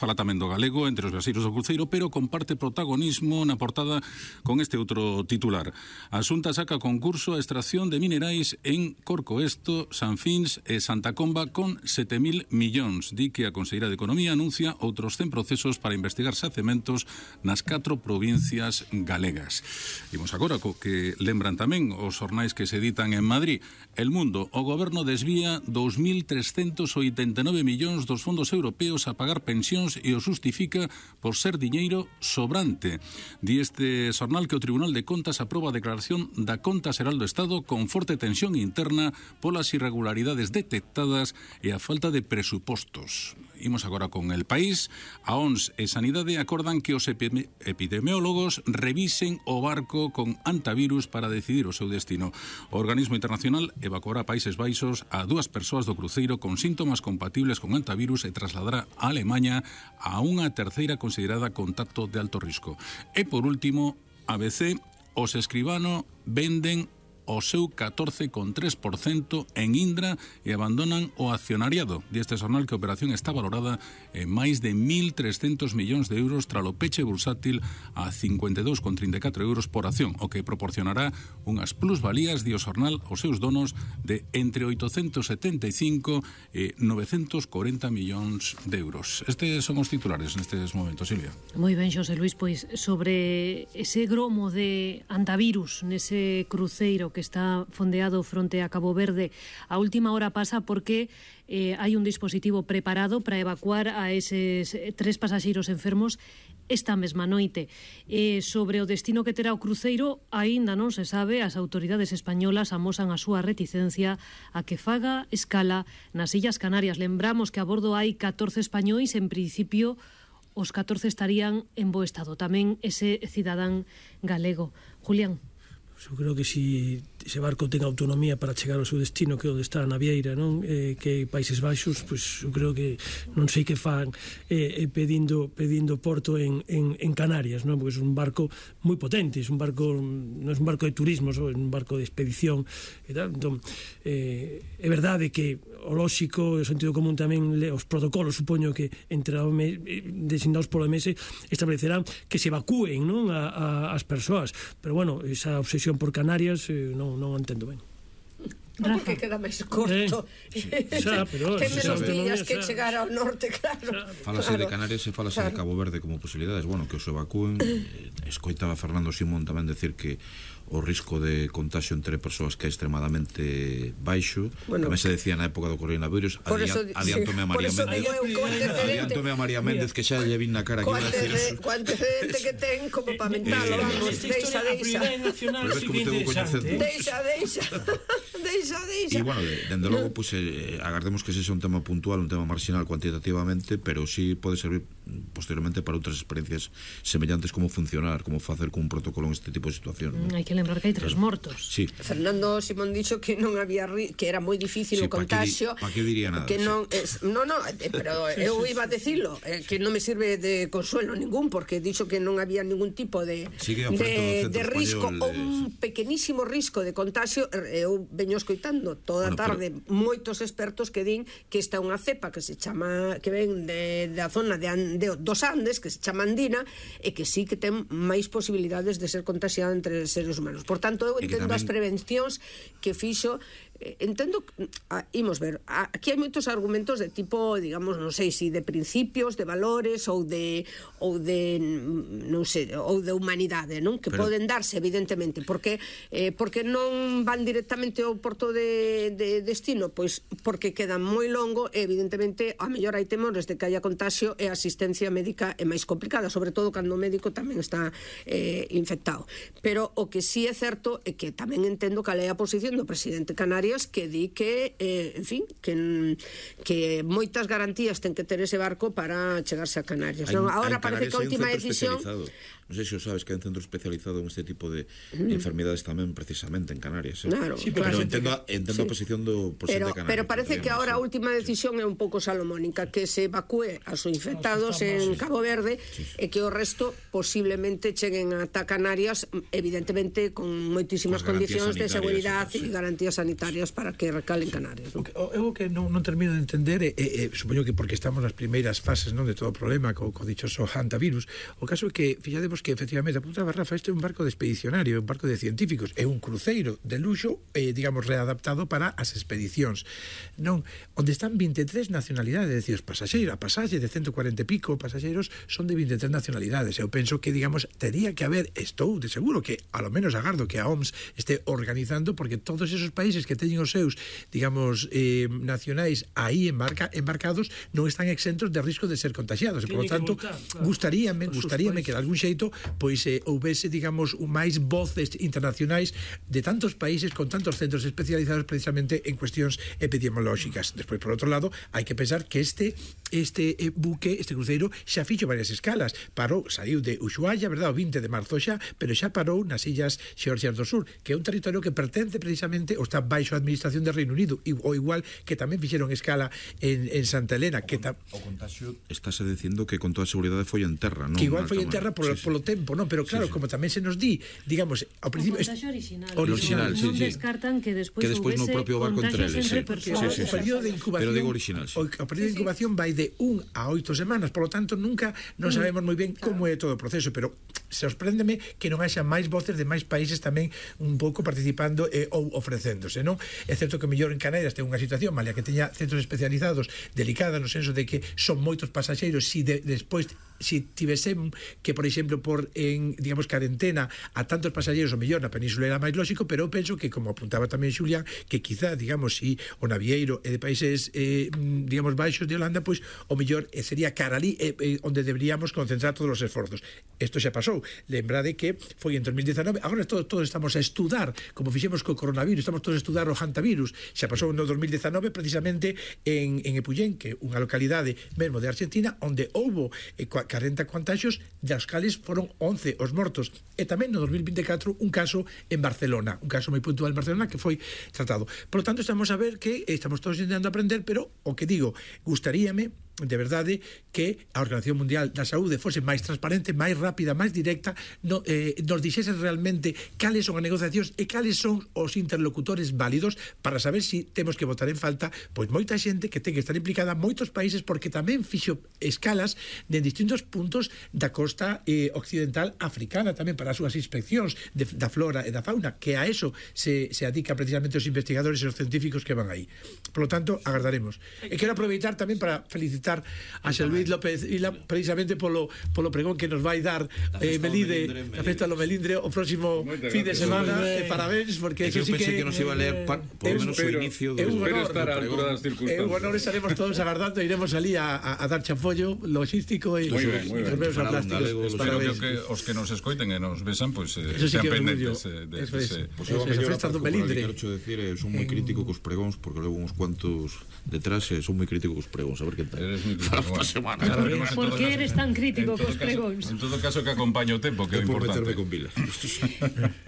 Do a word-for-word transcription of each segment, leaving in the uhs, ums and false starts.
Fala tamén do galego entre os viaxeiros do cruceiro, pero comparte protagonismo na portada con este outro titular. A Xunta saca concurso a extracción de minerais en Corcoesto, San Fins e Santa Comba con sete mil millóns. Di que a Conselleira de Economía anuncia outros cen procesos para investigar xacementos nas catro provincias galegas. Imos agora co que lembran tamén os xornais que se editan en Madrid. El Mundo, o goberno desvía dous mil trescentos oitenta e nove millóns dos fondos europeos a pagar pensións e o xustifica por ser diñeiro sobrante. Di este xornal que o Tribunal de Contas aproba a declaración da Conta Xeral do Estado con forte tensión interna polas irregularidades detectadas e a falta de presupostos. Imos agora con El País. A O N S e Sanidade acordan que os epidemiólogos revisen o barco con antivirus para decidir o seu destino. O organismo internacional evacuará a Países Baixos a dúas persoas do cruceiro con síntomas compatibles con antivirus e trasladará a Alemanha a unha terceira considerada contacto de alto risco. E por último, A B C, os Escribano venden o seu catorce coma tres por cento en Indra e abandonan o accionariado. Deste xornal que a operación está valorada en máis de mil trescentos millóns de euros tralo peche bursátil a cincuenta e dous coma trinta e catro euros por acción, o que proporcionará unhas plusvalías, di o xornal, aos seus donos de entre oitocentos setenta e cinco e novecentos corenta millóns de euros. Estes son os titulares nestes momentos, Silvia. Moi ben, Xosé Luis, pois sobre ese gromo de antivirus nese cruceiro que está fondeado fronte a Cabo Verde, a última hora pasa porque eh, hai un dispositivo preparado para evacuar a eses tres pasaxeiros enfermos esta mesma noite. Eh, sobre o destino que terá o cruceiro, aínda non se sabe. As autoridades españolas amosan a súa reticencia a que faga escala nas Illas Canarias. Lembramos que a bordo hai catorce españois, en principio os catorce estarían en bo estado. Tamén ese cidadán galego. Julián. Eu creo que se ese barco ten autonomía para chegar ao seu destino, que é onde está a navieira, non? Eh, que Países Baixos, pois eu creo que non sei que fan eh, pedindo pedindo porto en, en, en Canarias, non? Porque é un barco moi potente, é un barco, non é un barco de turismo, é un barco de expedición e tal. Entón, eh, é verdade que o lóxico, o sentido común tamén, os protocolos, supoño que entre a O M S, designados polo O M S, establecerán que se evacúen, non? A, a, as persoas, pero bueno, esa obsesión por Canarias eh, non, non entendo ben. Non, porque queda máis corto. Eh, sí, xa, pero ten menos días que chegar ao norte, claro. Falase claro. de Canarias e falase claro. de Cabo Verde como posibilidades. Bueno, que os evacúen. eh, Escoitaba Fernando Simón tamén decir que o risco de contagio entre persoas que é extremadamente baixo. Bueno, tamén se decía na época do coronavirus. Adiántome a María Méndez Adiántome a María Méndez que xa lle vin na cara. Co antecedente que ten como para mentalo. Vamos, deixa, deixa. Deixa, deixa. Deixa, deixa. E, bueno, dende logo, pues, eh, agardemos que sexa un tema puntual, un tema marginal cuantitativamente, pero sí pode servir posteriormente para outras experiencias semellantes, como funcionar, como facer con un protocolo en este tipo de situación. Mm, hai que lembrar que hai tres mortos. Sí. Fernando Simón dixo que non había que era moi difícil sí, o contagio. Pa que diría nada. Que non sí. es, no, no, pero eu iba a decirlo, eh, que non me sirve de consuelo ningún, porque dixo que non había ningún tipo de de, de risco, ou un pequenísimo risco de contagio. Eu veño escoitando toda a bueno, tarde pero... moitos expertos que din que esta é unha cepa que se chama, que ven de, da zona de, de dos Andes, que se chama andina, e que sí que ten máis posibilidades de ser contagiada entre seres humanos. Por tanto, eu entendo tamén... as prevencións que fixo. Entendo, ah, imos ver, aquí hai moitos argumentos de tipo, digamos, non sei se si de principios, de valores ou de ou de non sei, ou de humanidade, non? Que Pero... poden darse evidentemente, porque eh, porque non van directamente ao porto de, de destino, pois porque quedan moi longo e evidentemente a mellor hai temores de que haya contagio e a asistencia médica é máis complicada, sobre todo cando o médico tamén está eh, infectado. Pero o que sí é certo é que tamén entendo cal é a posición do presidente Canarias, que di que, eh, en fin, que, que moitas garantías ten que ter ese barco para chegarse a Canarias. Hay, non? Agora parece que a última decisión... Non sei se o sabes que hai un centro especializado en este tipo de mm. enfermedades tamén precisamente en Canarias. Eh? Claro, sí, pero claro. entendo, entendo sí. a posición do presidente de Canarias. Pero parece que agora a última decisión é un pouco salomónica, que se evacúe aos infectados en Cabo Verde sí, sí. e que o resto posiblemente cheguen ata Canarias, evidentemente con moitísimas condicións de seguridade e garantías sanitarias. necesarias para que recalen Canarias. Non? Eu que non, non termino de entender, e, e, supoño que porque estamos nas primeiras fases, non, de todo o problema co, co dichoso hantavirus, o caso é que, fixadevos que efectivamente apuntaba Rafa, este é un barco de expedicionario, un barco de científicos, é un cruceiro de luxo, eh, digamos, readaptado para as expedicións, non, onde están vinte e tres nacionalidades, é dicir, os pasaxeiros, a pasaxe de ciento cuarenta e pico pasaxeiros son de vinte e tres nacionalidades. Eu penso que, digamos, tería que haber, estou de seguro que, a lo menos agardo que a O M S este organizando, porque todos esos países que teñen os seus, digamos, eh, nacionais aí embarca, embarcados non están exentos de risco de ser contagiados, e, por lo tanto, voltar, claro, gustaríame, gustaríame que de algún xeito pois eh, houvese, digamos, máis voces internacionais de tantos países con tantos centros especializados precisamente en cuestións epidemiolóxicas. Despois, por outro lado, hai que pensar que este este eh, buque, este cruceiro xa fixo varias escalas, parou, saiu de Ushuaia, verdad, o vinte de marzo xa, pero xa parou nas illas Xeorxias do Sur, que é un territorio que pertence precisamente ou está baixo a administración de Reino Unido, ou igual que tamén fixeron escala en, en Santa Elena, o que ta... o contagio estáse dicindo que con toda seguridade foi en terra, non? Que igual foi en terra polo, sí, sí. polo tempo, non? Pero claro, sí, sí. como tamén se nos di, digamos, ao principio... O contagio original. Original, sí, non sí. descartan que despois que despois no propio barco entre eles, sí. sí, sí, sí. O período de incubación, pero digo original, sí. O, o período de incubación vai de un a oito semanas, por lo tanto nunca non sabemos moi ben como é todo o proceso, pero sorpréndeme que non haxa máis voces de máis países tamén un pouco participando eh, ou ofrecéndose, non? É certo que mellor en Canarias ten unha situación, malia que teña centros especializados, delicada no senso de que son moitos pasaxeiros, si de, despois si tivesen que, por exemplo, por en, digamos, carentena a tantos pasaxeiros, o mellor na península era máis lógico, pero eu penso que, como apuntaba tamén Xulián, que quizá, digamos, si o navieiro é de países, eh, digamos, baixos de Holanda, pois o mellor eh, sería cara ali eh, eh, onde deberíamos concentrar todos os esforzos. Isto xa pasou. Lembrade que foi en dos mil dezanove, agora todos, todos estamos a estudar, como fixemos co coronavirus, estamos todos a estudar o hantavirus. Xa pasou no dos mil dezanove, precisamente en, en Epuyén, que é unha localidade mesmo de Argentina, onde houbo eh, cuarenta contagios, das cales foron once os mortos, e tamén no dos mil vinte e catro un caso en Barcelona, un caso moi puntual en Barcelona que foi tratado. Por lo tanto, estamos a ver que estamos todos intentando aprender, pero o que digo, gustaríame de verdade que a Organización Mundial da Saúde fose máis transparente, máis rápida, máis directa, no, eh, nos dixese realmente cales son as negociacións e cales son os interlocutores válidos para saber si temos que votar en falta pois moita xente que ten que estar implicada, moitos países, porque tamén fixo escalas de distintos puntos da costa eh, occidental africana tamén para as súas inspeccións de, da flora e da fauna, que a eso se, se adica precisamente os investigadores e os científicos que van aí. Por lo tanto, agardaremos. E quero aproveitar tamén para felicitar a Xel Luís López Vila precisamente polo, polo pregón que nos vai dar eh, Melide, a festa do Melindre o próximo fin de semana, e parabéns, porque eso sí que... Eu pensei que nos iba a leer par, por lo menos o inicio do... Espero estar a altura das circunstancias. Eu honor estaremos todos agardando, iremos ali a, a, a dar chafollo logístico e os meus plásticos. Espero que os que nos escoiten e nos besan, pois sean pendentes de ese... A festa do Melindre. Quero decir, son moi crítico cos pregóns, porque levo uns cuantos detrás e son moi crítico cos pregóns, a ver que tal. Para semana. Por que eres tan crítico cos pregóns? En todo caso, que acompaña o tempo, que é importante. Con Vila.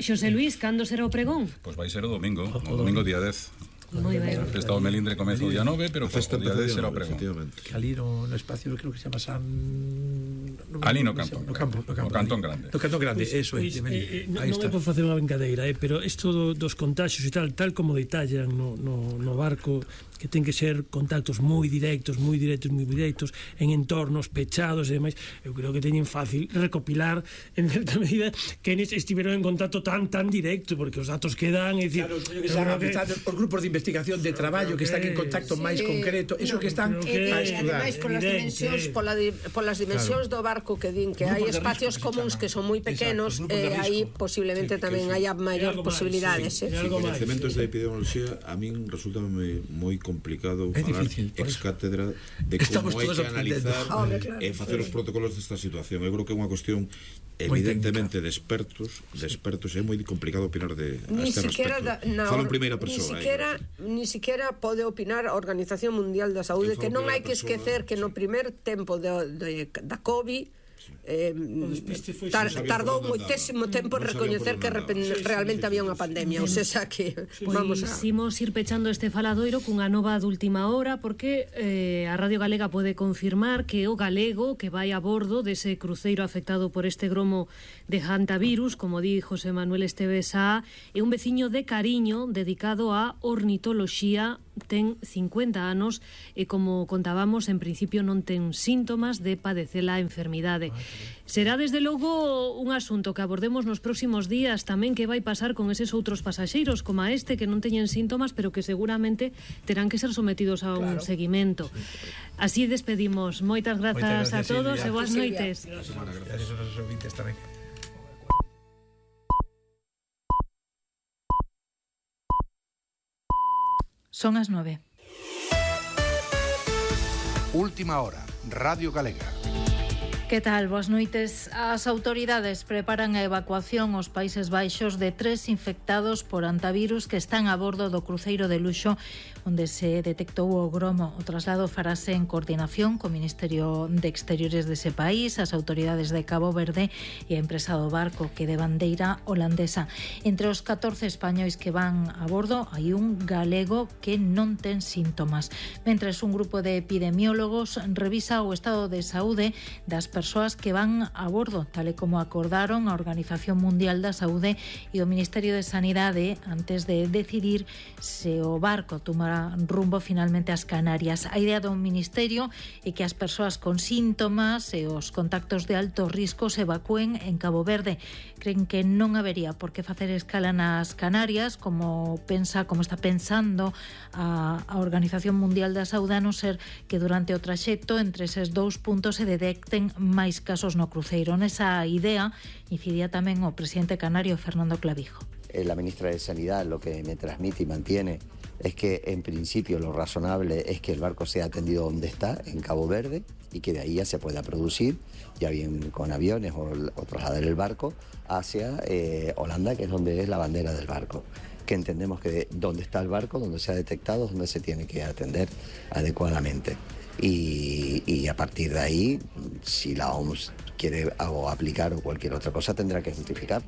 Xosé Luís, cando será o pregón? Pois vai ser o domingo, o domingo día dez. Moi ben. A festa do Melindre comeza o día nove, pero o día dez será o pregón. Que ali no, no espacio, creo que se chama San... No, ali no campo. No campo, no campo. No Cantón Grande. No Cantón Grande, pues, eso pues, é. Eh, eh, non é por facer unha brincadeira, eh, pero isto do, dos contagios e tal, tal como detallan no, no, no barco, que ten que ser contactos moi directos, moi directos, moi directos, en entornos pechados e demais, eu creo que teñen fácil recopilar en certa medida que estiveron en contacto tan tan directo, porque os datos que dan, é dicir, claro, que están que... os grupos de investigación de traballo que están en contacto sí, máis concreto, eso no, que están que a estudar. Ademais, polas dimensións, pola di, polas dimensións claro. do barco que din que hai espacios comuns que son moi pequenos, e eh, aí posiblemente sí, tamén sí. haya maior posibilidades. Sí, sí. Sí, coñecementos de epidemioloxía a min resulta moi complicado é falar difícil, ex cátedra de como hai que analizar oh, claro, e facer os protocolos desta situación. Eu creo que é unha cuestión evidentemente de expertos, de expertos, é moi complicado opinar de a este respecto. Da, na, Falo en primeira persoa. Ni siquiera, eh, ni siquiera pode opinar a Organización Mundial da Saúde, que non hai que esquecer que no primer tempo de, de, da COVID eh, tar, tardou moitísimo tempo en recoñecer que realmente había unha pandemia, ou seja que vamos a... Pois imos ir pechando este faladoiro cunha nova de última hora, porque eh, a Radio Galega pode confirmar que o galego que vai a bordo dese cruceiro afectado por este gromo de hantavirus, como di José Manuel Esteves Sá, é un veciño de Cariño dedicado á ornitoloxía, ten cincuenta anos e, como contábamos, en principio non ten síntomas de padecer a enfermidade. Será desde logo un asunto que abordemos nos próximos días tamén, que vai pasar con eses outros pasaxeiros como a este que non teñen síntomas pero que seguramente terán que ser sometidos a un claro. seguimento. Así despedimos. Moitas grazas, Moitas gracias a todos Silvia. E boas noites. Gracias aos nosos ouvintes tamén. Son as nove. Última hora, Radio Galega. Que tal? Boas noites. As autoridades preparan a evacuación aos Países Baixos de tres infectados por hantavirus que están a bordo do cruceiro de luxo onde se detectou o gromo. O traslado farase en coordinación co Ministerio de Exteriores dese país, as autoridades de Cabo Verde e a empresa do barco, que de bandeira holandesa. Entre os catorce españois que van a bordo hai un galego que non ten síntomas. Mentres un grupo de epidemiólogos revisa o estado de saúde das persoas que van a bordo, tal e como acordaron a Organización Mundial da Saúde e o Ministerio de Sanidade antes de decidir se o barco tomará rumbo finalmente ás Canarias. A idea do Ministerio é que as persoas con síntomas e os contactos de alto risco se evacúen en Cabo Verde. Creen que non habería por que facer escala nas Canarias, como pensa, como está pensando a, a Organización Mundial da Saúde, a non ser que durante o traxecto entre eses dous puntos se detecten máis casos no cruceiro. Nesa idea incidía tamén o presidente canario Fernando Clavijo. La ministra de Sanidad lo que me transmite y mantiene es que en principio lo razonable es que el barco sea atendido donde está, en Cabo Verde, y que de ahí ya se pueda producir, ya bien con aviones o, o trasladar el barco hacia eh, Holanda, que es donde es la bandera del barco. Que entendemos que donde está el barco, donde se ha detectado, es donde se tiene que atender adecuadamente. Y, y a partir de ahí, si la O M S quiere algo aplicar o cualquier otra cosa, tendrá que justificar.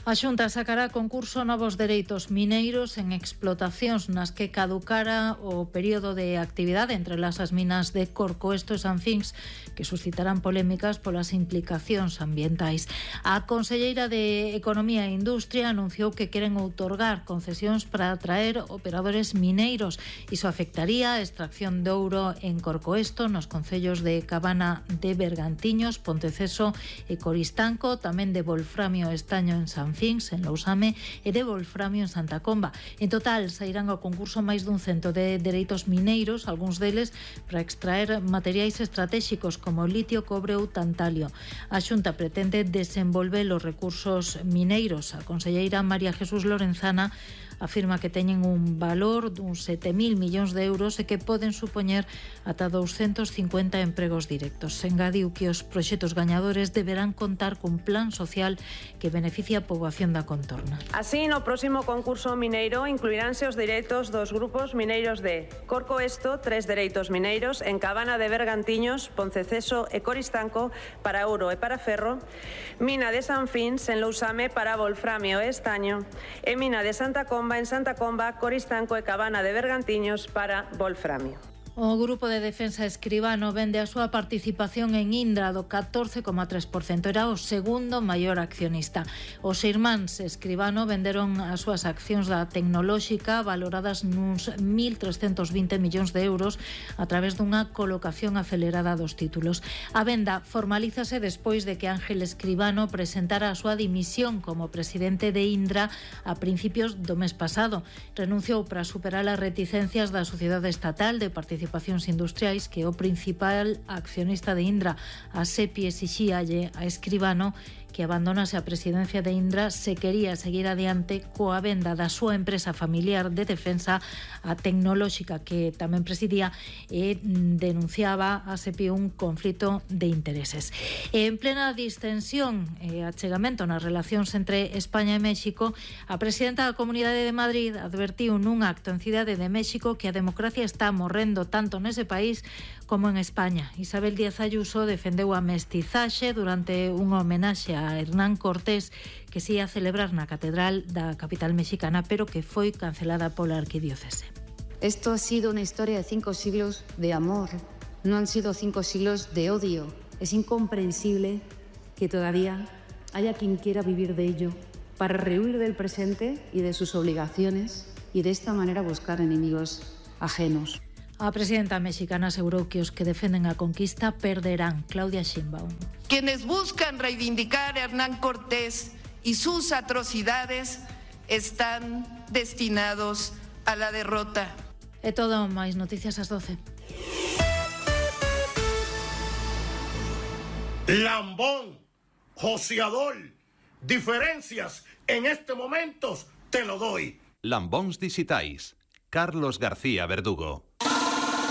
A Xunta sacará a concurso novos dereitos mineiros en explotacións nas que caducara o período de actividade entre las as minas de Corcoesto e Sanfins, que suscitarán polémicas polas implicacións ambientais. A conselleira de Economía e Industria anunciou que queren outorgar concesións para atraer operadores mineiros. Iso afectaría a extracción de ouro en Corcoesto, nos concellos de Cabana de Bergantiños, Ponteceso e Coristanco, tamén de Volframio e Estaño en Sanfins, en Lousame, e de Volframio en Santa Comba. En total, sairán ao concurso máis dun cento de dereitos mineiros, algúns deles para extraer materiais estratégicos como litio, cobre ou tantalio. A Xunta pretende desenvolver os recursos mineiros. A conselleira María Jesús Lorenzana afirma que teñen un valor duns sete mil millóns de euros e que poden supoñer ata douscentos cincuenta empregos directos. Engadiu que os proxectos gañadores deberán contar cun plan social que beneficia a poboación da contorna. Así, no próximo concurso mineiro incluiránse os dereitos dos grupos mineiros de Corcoesto, tres dereitos mineiros, en Cabana de Bergantiños, Ponteceso e Coristanco para ouro e para ferro, Mina de Sanfins en Lousame para Volframio e Estaño e Mina de Santa Comba en Santa Comba, Coristanco e Cabana de Bergantiños para Volframio. O Grupo de Defensa Escribano vende a súa participación en Indra do catorce coma tres por cento. Era o segundo maior accionista. Os irmáns Escribano venderon as súas accións da tecnolóxica valoradas nuns mil trescentos vinte millóns de euros a través dunha colocación acelerada dos títulos. A venda formalízase despois de que Ángel Escribano presentara a súa dimisión como presidente de Indra a principios do mes pasado. Renunciou para superar as reticencias da Sociedade Estatal de Participación Industriais, que é o principal accionista de Indra. A SEPI exixíalle a Escribano que abandonase a presidencia de Indra se quería seguir adiante coa venda da súa empresa familiar de defensa, a tecnolóxica que tamén presidía, e denunciaba a SEPI un conflito de intereses. E en plena distensión e achegamento nas relacións entre España e México, a presidenta da Comunidade de Madrid advertiu nun acto en Cidade de México que a democracia está morrendo tanto nese país como en España. Isabel Díaz Ayuso defendeu a mestizaxe durante unha homenaxe a Hernán Cortés que se ia celebrar na Catedral da capital mexicana, pero que foi cancelada pola arquidiocese. Esto ha sido una historia de cinco siglos de amor, no han sido cinco siglos de odio. Es incomprensible que todavía haya quien quiera vivir de ello para rehuir del presente y de sus obligaciones y de esta manera buscar enemigos ajenos. A presidenta mexicana asegurou que os que defenden a conquista perderán. Claudia Sheinbaum. Quienes buscan reivindicar a Hernán Cortés y sus atrocidades están destinados a la derrota. É todo, máis noticias ás doce. Lambón, joseador, diferencias en este momento te lo doy. Lambóns dixitais, Carlos García Verdugo.